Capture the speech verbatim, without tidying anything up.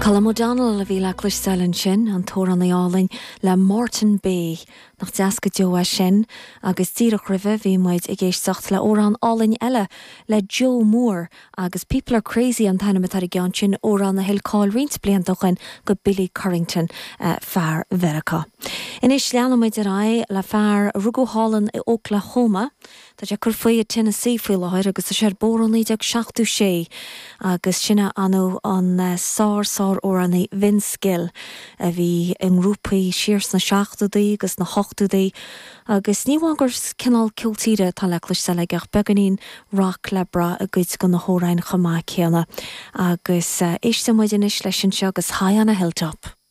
Colm O'Donnell a bhí le cloisteáil ansin an t-amhránaí álainn le Moreton Bay nach deas go deo é sin agus díreach roimhe bhí muid ag éisteacht le amhrán álainn eile le Joe Moore agus People Are Crazy an t-ainm atá ar an gceann sin amhrán a thuill cáil roinnt blianta ó shin do Billy Currington uh, fear Mheiriceá. Anois leanfaimid ar aghaidh le fear a rugadh thall in Oklahoma, Tá sé ag cur faoi i Tennessee faoi láthair agus tá sé ar bóthar naoi déag seachtó sé agus sin an an eh, sár sár-amhránaí Vince Gill a bhí i ngrúpaí siar sna seachtóidí agus na hochtóidí agus ní amháin gur cineál ceol tíre atá le cloisteáil aige ach beagáinín rock le brath i gcuid de na hamhráin chomh maith céanna agus uh, éistfidh muid anois leis anseo agus High on a Hilltop.